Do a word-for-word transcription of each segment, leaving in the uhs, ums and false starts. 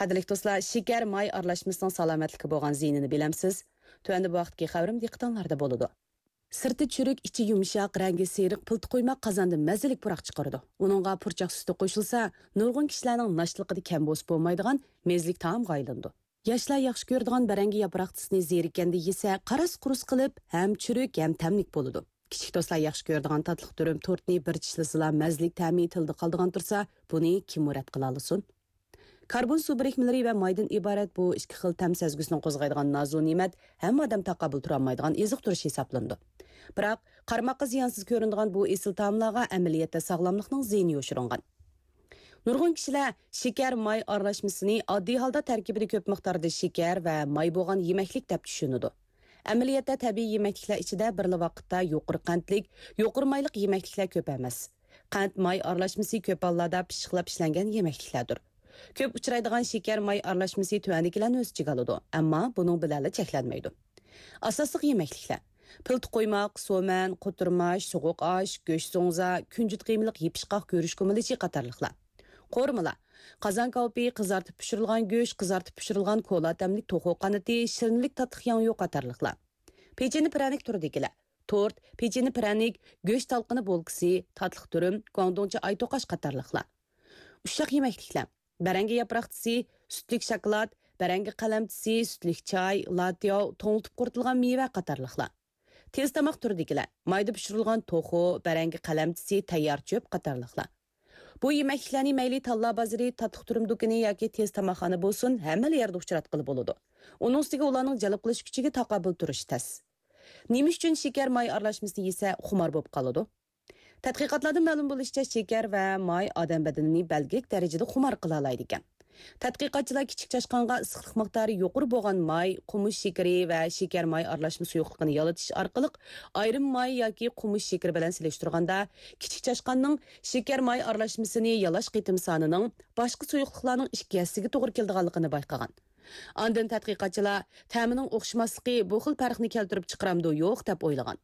قەدىرلىك دوستلار، شېكەر، ماي ئارىلاشمىسىنىڭ سالامەتلىككە بولغان زىيىنىنى بىلەمسىز؟ تۆۋەندە بۇ ھەقتىكى خەۋىرىم دىققىتىڭلاردا بولىدۇ. سىرتى چۈرۈك، ئىچى يۇمشاق، رەڭگى سېرىق پىلتە قۇيماق قازاندىن مەززىلىك پۇراق چىقىرىدۇ. ئۇنىڭغا پۇرچاق سۈتى قوشۇلسا، نۇرغۇن كىشىلەرنىڭ ناشتىلىقىدا كەم بولسا بولمايدىغان مەززىلىك تائامغا ئايلىنىدۇ. ياشلار ياخشى كۆرىدىغان بەرەڭگە ياپراقچىسىنى زېرىككەندە يېسە، قاراس-قۇرۇس قىلىپ، ھەم چۈرۈك، ھەم تەملىك بولىدۇ. كىچىك دوستلار ياخشى كۆرىدىغان تاتلىق دۈرۈم تورتنى بىر چىشلىسىلا، مەززىلىك تەمى تىلدا قالىدىغان تۇرسا، بۇنى كىممۇ رەت قىلالىسۇن؟ كاربون سۇ بىرىكمىلىرى ۋە مايدىن ئىبارەت بۇ ئىككى خىل تەم سەزگۈسىنى قوزغايدىغان نازۇ نېمەت ھەممە ئادەم تاقابىل تۇرالمايدىغان ئېزىق تۇرۇش ھېسابلىنىدۇ. بىراق، قارىماققا زىيانسىز كۆرۈنىدىغان بۇ ئېسىل تائاملارغا ئەمەلىيەتتە ساغلاملىقنىڭ زىيىنى يوشۇرۇنغان. نۇرغۇن كىشىلەر شېكەر، ماي ئارىلاشمىسىنى ئاددىي ھالدا تەركىبىدە كۆپ مىقداردا شېكەر ۋە ماي بولغان يېمەكلىك دەپ چۈشىنىدۇ. ئەمەلىيەتتە تەبىئىي يېمەكلىكلەر ئىچىدە بىرلا ۋاقىتتا يۇقىرى قەنتلىك، يۇقىرى مايلىق يېمەكلىكلەر كۆپ ئەمەس. قەنت، ماي ئارىلاشمىسى كۆپ ھاللاردا پىششىقلاپ ئىشلەنگەن يېمەكلىكلەردۇر. كۆپ ئۇچرايدىغان شېكەر، ماي ئارىلاشمىسى تۆۋەندىكىلەرنى ئۆز ئىچىگە ئالىدۇ، ئەمما بۇنىڭ بىلەنلا چەكلەنمەيدۇ. ئاساسلىق يېمەكلىكلەر: پىلتە قۇيماق، سومەن، قوتۇرماچ، سوغۇق ئاش، گۆش زوڭزا، كۈنجۈت قىيمىلىق يېپىشقاق گۈرۈچ كۇمىلىچى قاتارلىقلار. قورۇمىلار: قازان كاۋىپى، قىزارتىپ پىشۇرۇلغان گۆش، قىزارتىپ پىشۇرۇلغان كولا تەملىك توخۇ قانىتى، شىرنىلىك تاتلىق ياڭيۇ قاتارلىقلار. پېچىنە پىرەنىك تۈرىدىكىلەر: تورت، پېچىنە پىرەنىك، گۆش تالقىنى بولكىسى، تاتلىق دۈرۈم، گۇاڭدۇڭچە ئاي توقاچ قاتارلىقلار. ئۇششاق يېمەكلىكلەر: بەرەڭگە ياپراقچىسى، سۈتلۈك شاكىلات، بەرەڭگە قەلەمچىسى، سۈتلۈك چاي، لاتياۋ، توڭلىتىپ قۇرۇتۇلغان مېۋە قاتارلىقلار. تېز تاماق تۈرىدىكىلەر: مايدا پىشۇرۇلغان توخۇ، بەرەڭگە قەلەمچىسى، تەييار چۆپ قاتارلىقلار. بۇ يېمەكلىكلەرنى مەيلى تاللا بازىرى، تاتلىق تۈرۈم دۇكىنى ياكى تېز تاماقخانا بولسۇن، ھەممىلا يەردە ئۇچراتقىلى بولىدۇ. ئۇنىڭ ئۈستىگە ئۇلارنىڭ جەلپ قىلىش كۈچىگە تاقابىل تۇرۇش تەس. نېمە ئۈچۈن شېكەر، ماي ئارىلاشمىسىنى يېسە خۇمار بولۇپ قالىدۇ؟ تەتقىقاتلاردىن مەلۇم بولۇشىچە، شېكەر ۋە ماي ئادەم بەدىنىنى بەلگىلىك دەرىجىدە خۇمار قىلالايدىكەن. تەتقىقاتچىلار كىچىك چاشقانغا ئىسسىقلىق مىقدارى يۇقىرى بولغان ماي، قومۇش شېكىرى ۋە شېكەر ماي ئارىلاشما سۇيۇقلۇقىنى يالىتىش ئارقىلىق، ئايرىم ماي ياكى قومۇش شېكىرى بىلەن سېلىشتۇرغاندا، كىچىك چاشقاننىڭ شېكەر ماي ئارىلاشمىسىنى يالاش قېتىم سانىنىڭ باشقا سۇيۇقلۇقلارنىڭ ئىككى ھەسسىگە توغرا كېلىدىغانلىقىنى بايقىغان. ئاندىن تەتقىقاتچىلار تەمىنىڭ ئوخشىماسلىقى بۇ خىل پەرقنى كەلتۈرۈپ چىقىرامدۇ يوق دەپ ئويلىغان.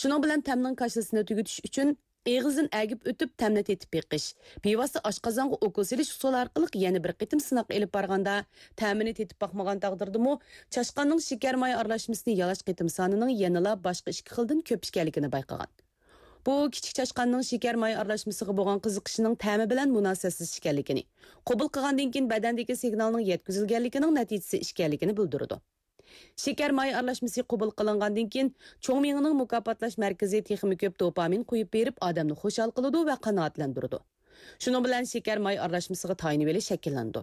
شۇنىڭ بىلەن تەمنىڭ كاشىلىسىنى تۈگىتىش ئۈچۈن ئېغىزدىن ئەگىپ ئۆتۈپ تەمنى تېتىپ بېقىش، بىۋاسىتە ئاشقازانغا ئوكۇل سېلىش ئۇسۇلى ئارقىلىق يەنە بىر قېتىم سىناق ئېلىپ بارغاندا، تەمىنى تېتىپ باقمىغان تەقدىردىمۇ، چاشقاننىڭ شېكەر ماي ئارىلاشمىسىنى يالاش قېتىم سانىنىڭ يەنىلا باشقا ئىككى خىلدىن كۆپ ئىكەنلىكىنى بايقىغان. بۇ كىچىك چاشقاننىڭ شېكەر ماي ئارىلاشمىسىغا بولغان قىزىقىشىنىڭ تەمى بىلەن مۇناسىۋەتسىز ئىكەنلىكىنى، قوبۇل قىلغاندىن كېيىن بەدەندىكى سىگنالنىڭ يەتكۈزۈلگەنلىكىنىڭ نەتىجىسى ئىكەنلىكىنى بىلدۈرىدۇ. شېكەر ماي ئارىلاشمىسى قوبۇل قىلىنغاندىن كېيىن، چوڭ مېڭىنىڭ مۇكاپاتلاش مەركىزى تېخىمۇ كۆپ دوپامىن قويۇپ بېرىپ، ئادەمنى خۇشال قىلىدۇ ۋە قانائەتلەندۈرىدۇ. شۇنىڭ بىلەن شېكەر ماي ئارىلاشمىسىغا تايىنىۋېلىش شەكىللىنىدۇ.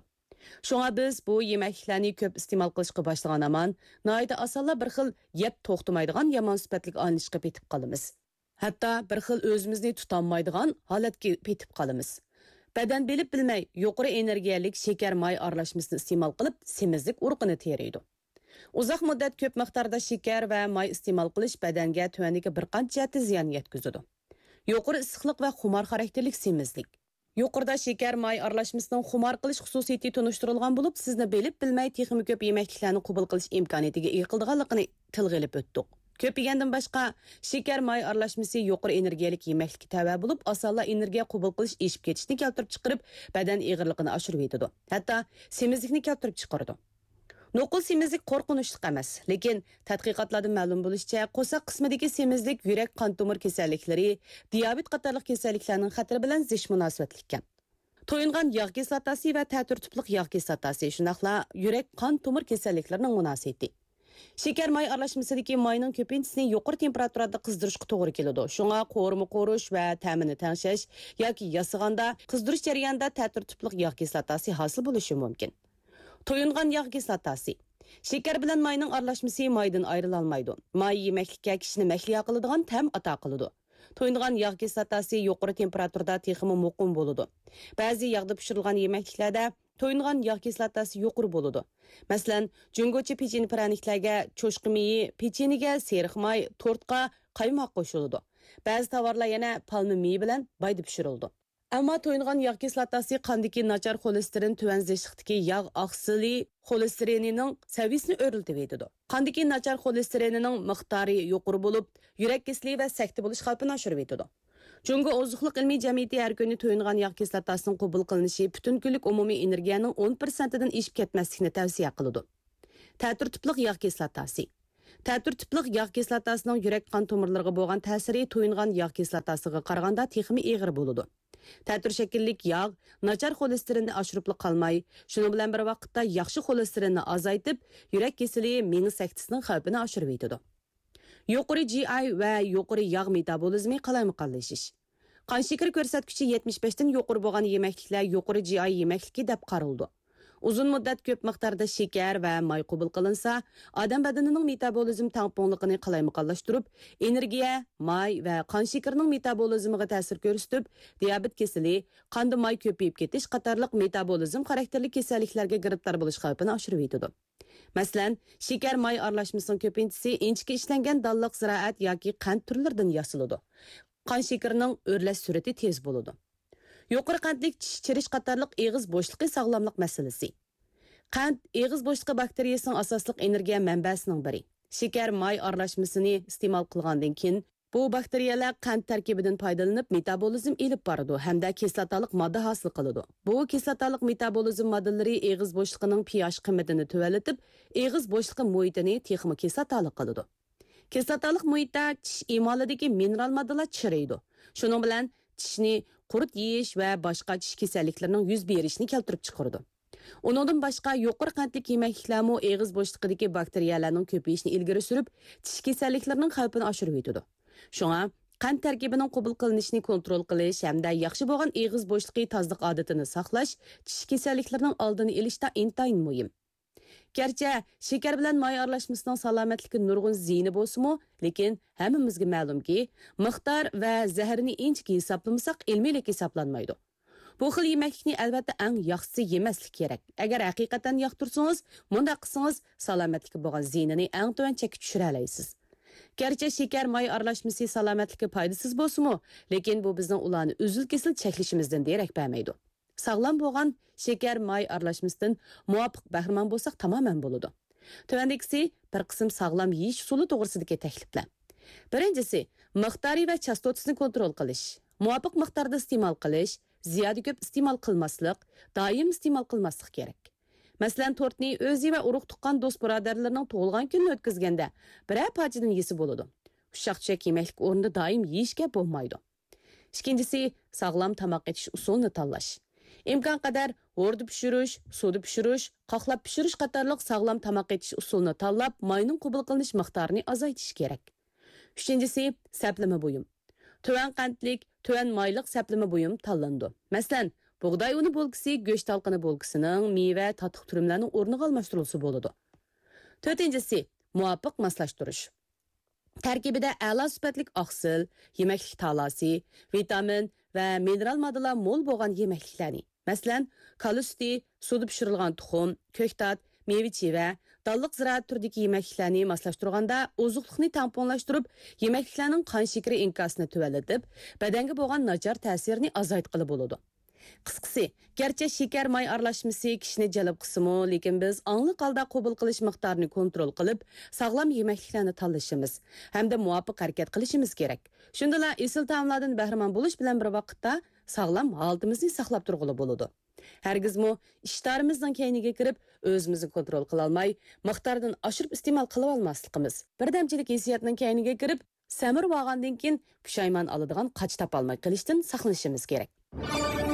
شۇڭا بىز بۇ يېمەكلىكلەرنى كۆپ ئىستېمال قىلىشقا باشلىغان ھامان، ناھايىتى ئاسانلا بىر خىل يەپ توختىمايدىغان يامان سۈپەتلىك ئايلىنىشقا پېتىپ قالىمىز. ھەتتا بىر خىل ئۆزىمىزنى تۇتالمايدىغان ھالەتكە پېتىپ قالىمىز. بەدەن بىلىپ بىلمەي يۇقىرى ئېنېرگىيەلىك شېكەر ماي ئارىلاشمىسىنى ئىستېمال قىلىپ، سېمىزلىك ئۇرۇقىنى تېرىيدۇ. ئۇزاق مۇددەت كۆپ مىقداردا شېكەر ۋە ماي ئىستېمال قىلىش بەدەنگە تۆۋەندىكى بىر قانچە جەھەتتە زىيان يەتكۈزىدۇ. يۇقىرى ئىسسىقلىق ۋە خۇمار خاراكتېرلىك سېمىزلىك. يۇقىرىدا شېكەر ماي ئارىلاشمىسىنىڭ خۇمار قىلىش خۇسۇسىيىتى تونۇشتۇرۇلغان بولۇپ، سىزنى بىلىپ بىلمەي تېخىمۇ كۆپ يېمەكلىكلەرنى قوبۇل قىلىش ئىمكانىيىتىگە ئىگە قىلىدىغانلىقىنى تىلغا ئېلىپ ئۆتتۇق. كۆپ يېگەندىن باشقا، شېكەر ماي ئارىلاشمىسى يۇقىرى ئېنېرگىيەلىك يېمەكلىككە تەۋە بولۇپ، ئاسانلا ئېنېرگىيە قوبۇل قىلىش ئېشىپ كېتىشنى كەلتۈرۈپ چىقىرىپ، بەدەن ئېغىرلىقىنى ئاشۇرۇۋېتىدۇ. ھەتتا سېمىزلىكنى كەلتۈرۈپ چىقىرىدۇ. نوقۇل سېمىزلىك قورقۇنچلۇق ئەمەس، لېكىن تەتقىقاتلاردىن مەلۇم بولۇشىچە، قورساق قىسمىدىكى سېمىزلىك يۈرەك قان تومۇر كېسەللىكلىرى، دىيابېت قاتارلىق كېسەللىكلەرنىڭ خەتىرى بىلەن زىچ مۇناسىۋەتلىككەن. تويۇنغان ياغ كىسلاتاسى ۋە تەتۈر تىپلىق ياغ كىسلاتاسى، شۇنداقلا يۈرەك قان تومۇر كېسەللىكلىرىنىڭ مۇناسىۋىتى. شېكەر ماي ئارىلاشمىسىدىكى ماينىڭ كۆپىنچىسىنى يۇقىرى تېمپېراتۇرىدا قىزدۇرۇشقا توغرا كېلىدۇ. شۇڭا قورۇما قورۇش ۋە تەمىنى تەڭشەش ياكى ياسىغاندا، قىزدۇرۇش جەريانىدا تەتۈر تىپلىق ياغ كىسلاتاسى ھاسىل بولۇشى مۇمكىن. تويۇنغان ياغ كىسلاتاسى. شېكەر بىلەن ماينىڭ ئارىلاشمىسى مايدىن ئايرىلالمايدۇ. ماي يېمەكلىككە كىشىنى مەھلىيا قىلىدىغان تەم ئاتا قىلىدۇ. تويۇنغان ياغ كىسلاتاسى يۇقىرى تېمپېراتۇرىدا تېخىمۇ مۇقىم بولىدۇ. بەزى ياغدا پىشۇرۇلغان يېمەكلىكلەردە تويۇنغان ياغ كىسلاتاسى يۇقىرى بولىدۇ. مەسىلەن، جۇڭگوچە پېچىنە پىرەنىكلەرگە، چوشقا مېيى، پېچىنىگە سېرىق ماي، تورتقا قايماق قوشۇلىدۇ. بەزى تاۋارلار يەنە پالما مېيى بىلەن بايدا پىشۇرۇلىدۇ. ئەمما تويۇنغان ياغ كىسلاتاسى قاندىكى ناچار خولېستېرىن، تۆۋەن زىچلىقتىكى ياغ ئاقسىلى خولېستېرىنىنىڭ سەۋىيىسىنى ئۆرلىتىۋېتىدۇ. قاندىكى ناچار خولېستېرىنىنىڭ مىقدارى يۇقىرى بولۇپ، يۈرەك كېسىلى ۋە سەكتە بولۇش خەۋپىنى ئاشۇرۇۋېتىدۇ. جۇڭگو ئوزۇقلۇق ئىلمىي جەمئىيىتى ھەر كۈنى تويۇنغان ياغ كىسلاتاسىنىڭ قوبۇل قىلىنىشى پۈتۈن كۈنلۈك ئومۇمىي ئېنېرگىيەنىڭ ئون پىرسەنتىدىن ئېشىپ كەتمەسلىكنى تەۋسىيە قىلىدۇ. تەتۈر تىپلىق ياغ كىسلاتاسى. تەتۈر تىپلىق ياغ كىسلاتاسىنىڭ يۈرەك قان تومۇرلىرىغا بولغان تەسىرى تويۇنغان ياغ كىسلاتاسىغا قارىغاندا تېخىمۇ ئېغىر بولىدۇ. تەتۈر شەكىللىك ياغ ناچار خولېستېرىننى ئاشۇرۇپلا قالماي، شۇنىڭ بىلەن بىر ۋاقىتتا ياخشى خولېستېرىننى ئازايتىپ، يۈرەك كېسىلى، مېڭە سەكتىسىنىڭ خەۋپىنى ئاشۇرۇۋېتىدۇ. يۇقىرى جى ئاي ۋە يۇقىرى ياغ مېتابولىزمى قالايمىقانلىشىش. قان شېكىرى كۆرسەتكۈچى يەتمىش بەشتىن يۇقىرى بولغان يېمەكلىكلەر يۇقىرى جى ئاي يېمەكلىكى دەپ قارىلىدۇ. ئۇزۇن مۇددەت كۆپ مىقداردا شېكەر ۋە ماي قوبۇل قىلىنسا، ئادەم بەدىنىنىڭ مېتابولىزم تەڭپۇڭلۇقىنى قالايمىقانلاشتۇرۇپ، ئېنېرگىيە، ماي ۋە قان شېكىرىنىڭ مېتابولىزمىغا تەسىر كۆرسىتىپ، دىيابېت كېسىلى، قاندا ماي كۆپىيىپ كېتىش قاتارلىق مېتابولىزم خاراكتېرلىك كېسەللىكلەرگە گىرىپتار بولۇش خەۋپىنى ئاشۇرۇۋېتىدۇ. مەسىلەن، شېكەر ماي ئارىلاشمىسىنىڭ كۆپىنچىسى ئىنچىكە ئىشلەنگەن دانلىق زىرائەت ياكى قەنت تۈرلىرىدىن ياسىلىدۇ. قان شېكىرىنىڭ ئۆرلەش سۈرئىتى تېز بولىدۇ. يۇقىرى قەنتلىك چىش چىرىش قاتارلىق ئېغىز بوشلۇقى ساغلاملىق مەسىلىسى. قەنت ئېغىز بوشلۇقى باكتېرىيىسىنىڭ ئاساسلىق ئېنېرگىيە مەنبەسىنىڭ بىرى. شېكەر ماي ئارىلاشمىسىنى ئىستېمال قىلغاندىن كېيىن، بۇ باكتېرىيەلەر قەنت تەركىبىدىن پايدىلىنىپ مېتابولىزم ئېلىپ بارىدۇ ھەمدە كىسلاتالىق ماددا ھاسىل قىلىدۇ. بۇ كىسلاتالىق مېتابولىزم ماددىلىرى ئېغىز بوشلۇقىنىڭ پىئاش قىممىتىنى تۆۋەنلىتىپ، ئېغىز بوشلۇقى مۇھىتىنى تېخىمۇ كىسلاتالىق قىلىدۇ. كىسلاتالىق مۇھىتتا چىش ئىمالىدىكى مىنېرال ماددىلار چىرىيدۇ. شۇنىڭ بىلەن چىشنى قۇرت يېيىش ۋە باشقا چىش كېسەللىكلىرىنىڭ يۈز بېرىشىنى كەلتۈرۈپ چىقىرىدۇ. ئۇنىڭدىن باشقا، يۇقىرى قەنتلىك يېمەكلىكلەرمۇ ئېغىز بوشلۇقىدىكى باكتېرىيەلەرنىڭ كۆپىيىشىنى ئىلگىرى سۈرۈپ، چىش كېسەللىكلىرىنىڭ خەۋپىنى ئاشۇرۇۋېتىدۇ. شۇڭا، قەنت تەركىبىنىڭ قوبۇل قىلىنىشىنى كونترول قىلىش ھەمدە ياخشى بولغان ئېغىز بوشلۇقى تازىلىق ئادىتىنى ساقلاش چىش كېسەللىكلىرىنىڭ ئالدىنى ئېلىشتا ئىنتايىن مۇھىم. گەرچە شېكەر بىلەن ماي ئارىلاشمىسىنىڭ سالامەتلىككە نۇرغۇن زىيىنى بولسىمۇ، لېكىن ھەممىمىزگە مەلۇمكى، مىقدار ۋە زەھىرىنى ئىنچىكە ھېسابلىمىساق، ئىلمىيلىككە ھېسابلانمايدۇ. بۇ خىل يېمەكلىكنى ئەلۋەتتە ئەڭ ياخشىسى يېمەسلىك كېرەك. ئەگەر ھەقىقەتەن ياقتۇرسىڭىز، مۇنداق قىلسىڭىز سالامەتلىككە بولغان زىيىنىنى ئەڭ تۆۋەن چەككە چۈشۈرەلەيسىز. گەرچە شېكەر ماي ئارىلاشمىسى سالامەتلىككە پايدىسىز بولسىمۇ، لېكىن بۇ بىزنىڭ ئۇلارنى ئۈزۈل-كېسىل چەكلىشىمىزدىن دېرەك بەرمەيدۇ. ساغلام بولغان شېكەر ماي ئارىلاشمىسىدىن مۇۋاپىق بەھرىمەن بولساق تامامەن بولىدۇ. تۆۋەندىكىسى بىر قىسىم ساغلام يېيىش ئۇسۇلى توغرىسىدىكى تەكلىپلەر. بىرىنچىسى، مىقدارى ۋە چاستوتىسىنى كونترول قىلىش. مۇۋاپىق مىقداردا ئىستېمال قىلىش، زىيادە كۆپ ئىستېمال قىلماسلىق، دائىم ئىستېمال قىلماسلىق كېرەك. مەسىلەن، تورتنى ئۆزى ۋە ئۇرۇق-تۇغقان، دوست-بۇرادەرلىرىنىڭ تۇغۇلغان كۈنىنى ئۆتكۈزگەندە بىرەر پارچىدىن يېسە بولىدۇ. ئۇششاق-چۈششەك يېمەكلىك ئورنىدا دائىم يېيىشكە بولمايدۇ. ئىككىنچىسى، ساغلام تاماق ئېتىش ئۇسۇلىنى تاللاش. ئىمكانقەدەر ھوردا پىشۇرۇش، سۇدا پىشۇرۇش، قاقلاپ پىشۇرۇش قاتارلىق ساغلام تاماق ئېتىش ئۇسۇلىنى تاللاپ، ماينىڭ قوبۇل قىلىنىش مىقدارىنى ئازايتىش كېرەك. ئۈچىنچىسى، سەپلىمە بۇيۇم. تۆۋەن قەنتلىك، تۆۋەن مايلىق سەپلىمە بۇيۇم تاللىنىدۇ. مەسىلەن، بۇغداي ئۇنى بولكىسى، گۆش تالقىنى بولكىسىنىڭ، مېۋە، تاتلىق تۈرۈملەرنىڭ ئورنىغا ئالماشتۇرۇلسا بولىدۇ. تۆتىنچىسى، مۇۋاپىق ماسلاشتۇرۇش. تەركىبىدە ئەلا سۈپەتلىك ئاقسىل، يېمەكلىك تالاسى، ۋىتامىن ۋە مىنېرال ماددىلار مول بولغان يېمەكلىكلەرنى، مەسىلەن، كالا سۈتى، سۇدا پىشۇرۇلغان تۇخۇم، كۆكتات، مېۋە-چىۋە، دانلىق زىرائەت تۈرىدىكى يېمەكلىكلەرنى ماسلاشتۇرغاندا، ئوزۇقلۇقنى تەڭپۇڭلاشتۇرۇپ، يېمەكلىكلەرنىڭ قان شېكىرى ئىنكاسىنى تۆۋەنلىتىپ، بەدەنگە بولغان ناچار تەسىرىنى ئازايتقىلى بولىدۇ. قىسقىسى، گەرچە شېكەر ماي ئارىلاشمىسى كىشىنى جەلپ قىلسىمۇ، لېكىن بىز ئاڭلىق ھالدا قوبۇل قىلىش مىقدارىنى كونترول قىلىپ، ساغلام يېمەكلىكلەرنى تاللىشىمىز ھەمدە مۇۋاپىق ھەرىكەت قىلىشىمىز كېرەك. شۇندىلا ئېسىل تائاملاردىن بەھرىمەن بولۇش بىلەن بىر ۋاقىتتا ساغلام ھالىتىمىزنى ساقلاپ تۇرغىلى بولىدۇ. ھەرگىزمۇ ئىشتىھارىمىزنىڭ كەينىگە كىرىپ، ئۆزىمىزنى كونترول قىلالماي، مىقداردىن ئاشۇرۇپ ئىستېمال قىلىۋالماسلىقىمىز، بىردەمچىلىك ھېسسىياتنىڭ كەينىگە كىرىپ، سەمرىۋالغاندىن كېيىن پۇشايمان ئالىدىغان قاچا تاپالماي قېلىشتىن ساقلىنىشىمىز كېرەك.